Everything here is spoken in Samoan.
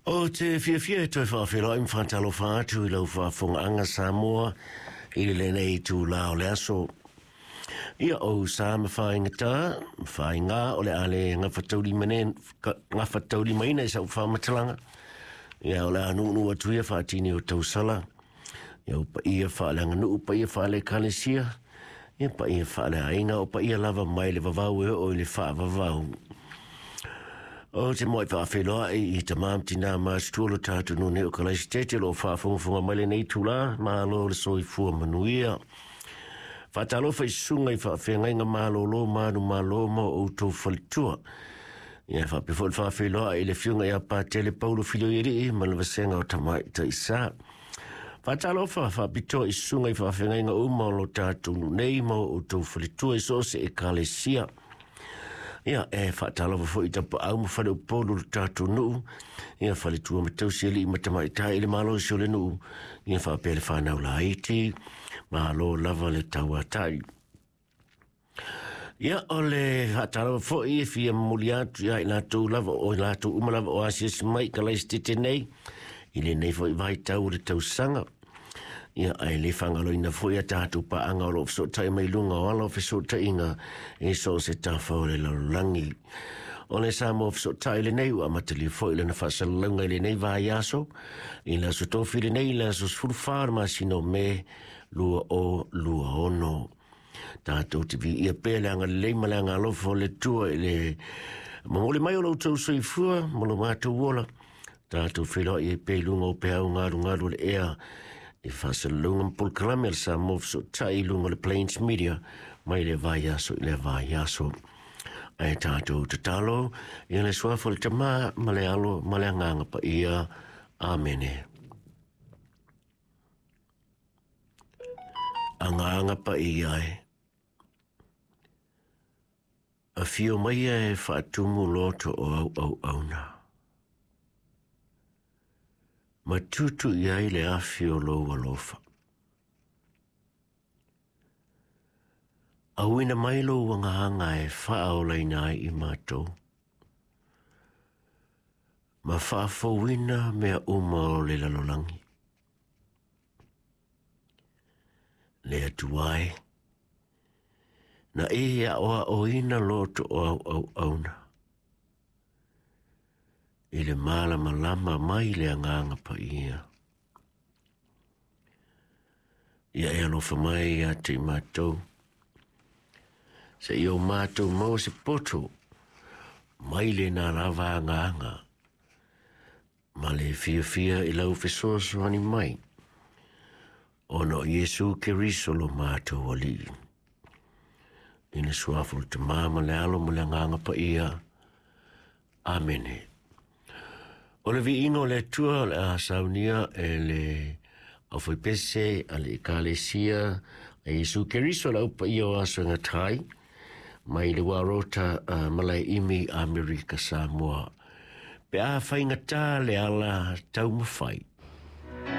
Ou te fiafia e toe faafeiloai ma faatalofa atu i lau faafofogaaga Samoa i lenei itulā o le aso. Ia, o sa ma fāigatā, ma fāigā o le a le gafataulimaina i sau faamatalaga. Ia, o le a nuunuu atu ia faatini o tausala. Ia, o paia faaleaganuu, paia faale-ekalesia, ia paia faaleaiga, o paia lava mai le vavau e oo i le faavavau. Ou te muai faafeiloai i tamā ma tinā matutua o lo tatou nuu nei o Kalaisitete o lo o faafogafoga mai lenei itulā, malo le soifua manuia. Faatalofa i susuga i faafeagaiga malolo manumalo ma o outou faletua. Ia faapea foi le faafeiloai i le afioga ia Patele Paulo Filoialii ma le vasega o Tamaitai Sa. Faatalofa faapitoa i susuga i faafeagaiga uma o lo tatou nuu nei ma o outou faletua i so o se ekalesia. Ia, e faatalofa foi i tapaau ma faleupolu o le tatou nuu, ia faletua ma tausi alii ma tamaitai i le malosi o le nuu, ia faapea le whanau laiti, malo lava le tauatai. Ia, o le faatalofa foi e fia momoli atu ia i latou lava o i latou uma lava o asiasi mai i Kalaisitete nei, i lenei foi vaitau o le tausaga. Ia, ae le faagaloina foi a tatou paaga o lo o fesootai mai luga o ala o fesootaiga i so o se tafa o le lalolagi. O le Samoa Fesootai lenei ua amatalia foi lana faasalalauga i lenei vaiaso, i le aso Tofi lenei, i le aso 14 o le masina o Me 2026. Tatou te viia pea le agalelei ma le agalofa o le Atua i le momoli mai o lo outou soifua ma lo matou ola. Tatou feiloai ai pea i luga o peau galugalu o le ea i faasalalauga ma polokalame a le Samoa Fesootai i luga o le Plains Media mai le vaiaso i le vaiaso. Ae tatou tatalo i le suafa o le Tama ma le Alo ma le Agaga Paia. Amene. Agaga Paia e. Afio maia e faatumu loto o au auauna. Ma tutu i ai le afi o lou alofa. Auina mai lou agaga e faaolaina ai i matou. Ma faafouina mea uma o le lalolagi. Le Atua e, na e aʻoaʻoina loto o au auauna i le malamalama mai le Agaga Paia. Ia e alofa mai ia te i matou, seia o matou maua se poto mai lena lava agaga ma le fiafia i lau fesoasoani mai, ona o Iesu Keriso lo matou Alii. I le suafa o le Tama ma le Alo ma le Agaga Paia. Amene. O le viiga o le Atua o le a saunia e le aufaipese a le Ekalesia a Iesu Keriso le au paia o aso e gata ai, mai le Warota Malaeimi Amerika Samoa. Pe a faigata le ala taumafai.